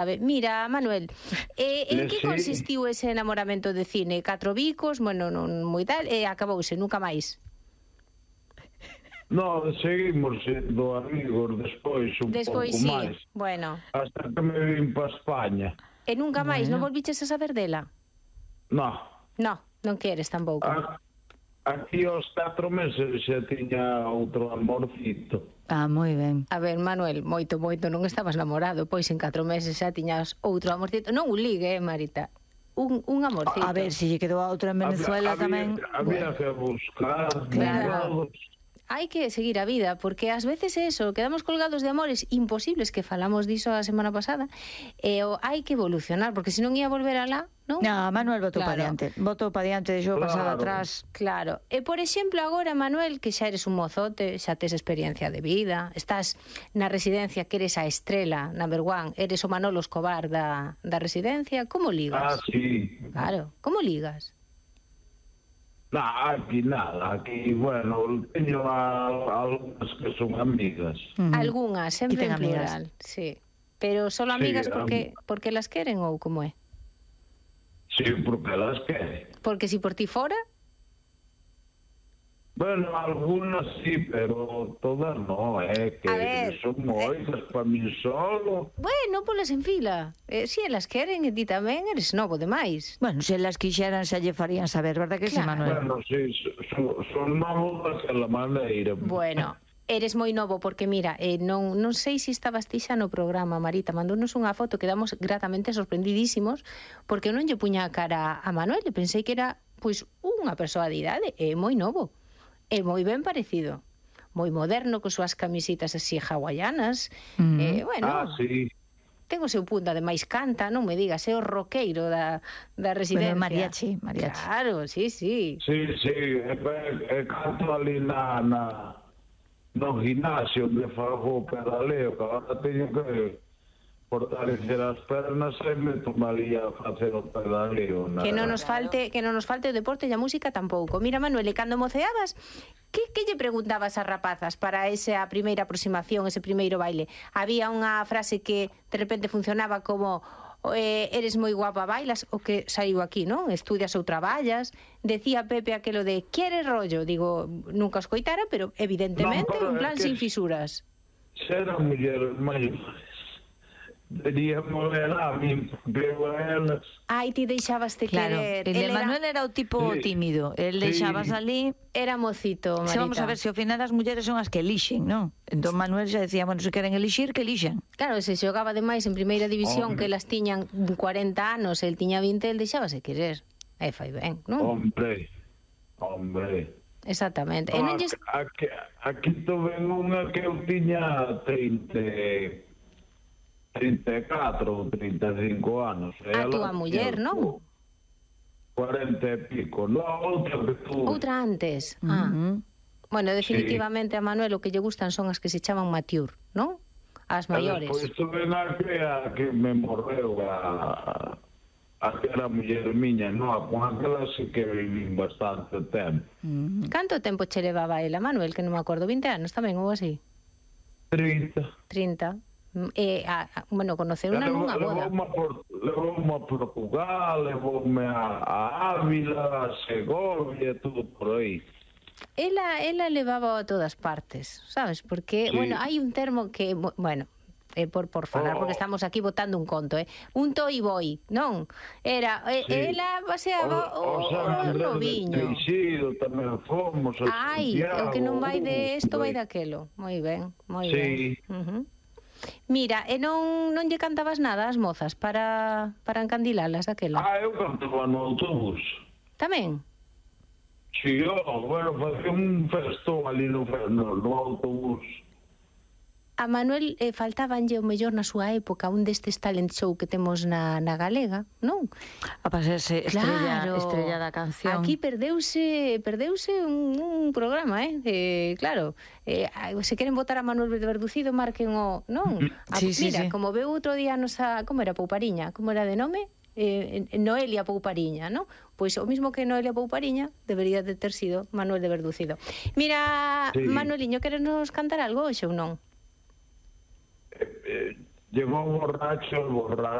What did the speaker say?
A ver, mira, Manuel, en que consistiu ese enamoramento de cine? 4 bicos, bueno, non moi tal, e acabouse, nunca máis? No, seguimos sendo amigos despois un pouco sí, máis. Bueno. Hasta que me vim para España. E nunca máis, non volviches a saber dela? No. No, non queres tampouco. Aquí aos 4 meses xa tiña outro amorcito. Moi ben. A ver, Manuel, moito, non estabas namorado, pois en 4 meses xa tiñas outro amorcito. Non un ligue, Marita, un amorcito. A ver, se lle quedou a outra en Venezuela tamén. Había que buscar. Claro. Hai que seguir a vida, porque ás veces eso, quedamos colgados de amores imposibles, que falamos diso a semana pasada, e hai que evolucionar, porque senón ia volver alá, non? No, Manuel votou para diante, deixou pasado atrás. Claro, e por exemplo agora, Manuel, que xa eres un mozote, xa tes experiencia de vida, estás na residencia que eres a estrela, number one, eres o Manolo Escobar da residencia, como ligas? Sí. Claro, como ligas? Aquí nada, aquí, bueno, teño algunhas que son amigas. Algunhas, sempre en plural, sí. Pero solo amigas porque las queren ou como é? Sí, porque las queren. Porque si por ti fora? Bueno, algunas sí, pero todas no, que son moitas para mí solo. Bueno, polas en fila. Si elas queren e ti tamén eres novo demais. Bueno, se elas quixeran xa lle farían saber, verdad que sí, Manuel? Bueno, sí, son novos daquela maneira. Bueno, eres moi novo porque, mira, non sei se estabas ti xa no programa, Marita, mandounos unha foto, quedamos gratamente sorprendidísimos porque non lle puña a cara a Manuel e pensei que era, pois, unha persoa de idade, moi novo. É moi ben parecido, moi moderno, con súas camisitas así hawaianas. Bueno, sí. Ten o seu punto, ademais canta, non me digas, é o roqueiro da residencia. Bueno, mariachi. Claro, sí. Sí, canto ali no gimnasio onde fago pedaleo, que agora teño que fortalecer as pernas e me tomaría a facer o pedaleo. Que non nos falte o deporte e a música tampouco. Mira, Manuel, e cando moceabas, que lle preguntabas ás rapazas para esa primeira aproximación, ese primeiro baile? Había unha frase que de repente funcionaba como eres moi guapa, bailas, o que saiu aquí, non? Estudias ou traballas. Decía Pepe aquelo de queres rollo, digo, nunca os coitara, pero evidentemente un plan sin fisuras. Ser a muller maiores. Diríamos a mí, pero elas... Ai, ti deixabaste querer. Claro, el Manuel era o tipo tímido. El deixabas ali... Era mocito, Marita. Vamos a ver, se ao final as mulleres son as que elixen, non? Entón Manuel xa decía, bueno, se queren elixir, que elixen. Claro, se xogaba demais en primeira división, que elas tiñan 40 anos, el tiña 20, el deixábase querer. Fai ben, non? Hombre. Exactamente. Aquí tuve unha que eu tiña 34 ou 35 anos. A túa muller, non? 40 e pico. Non, outra antes. Bueno, definitivamente a Manuel o que lle gustan son as que se chaman mature, non? As maiores. Pois tuve unha que me morreu a que era muller miña, non? Con aquela sí que vivín bastante tempo. Canto tempo che levaba ela, Manuel? Que non me acordo, 20 anos tamén, ou así? 30. Bueno, conocer unha nunha boda. Levoume a Portugal, levoume a Ávila, a Segovia, tudo por aí. Ela levaba a todas partes, sabes? Porque, bueno, hai un termo que, bueno, por falar, porque estamos aquí botando un conto, un toi boi, non? Era, ela paseaba o noviño. Tamén fomos a o Santiago. que non vai de isto vai daquelo. Moi ben, moi ben. Mira, e non lle cantabas nada ás mozas para encandilalas aquela? Eu cantaba no autobús. Tamén? Si, bueno, facía un festón ali no autobús. A Manuel faltabanlle o mellor na súa época un destes talent show que temos na Galega, non? A pasarse estrella da canción. Aquí perdeuse un programa, claro. Se queren votar a Manuel Verducido, marquen o... Non? Mira, como veu outro día nosa... Como era Poupariña? Como era de nome? Noelia Poupariña, non? Pois o mismo que Noelia Poupariña debería de ter sido Manuel de Verducido. Mira, Manueliño, queres nos cantar algo hoxe ou non? Llegó borracho, el borracho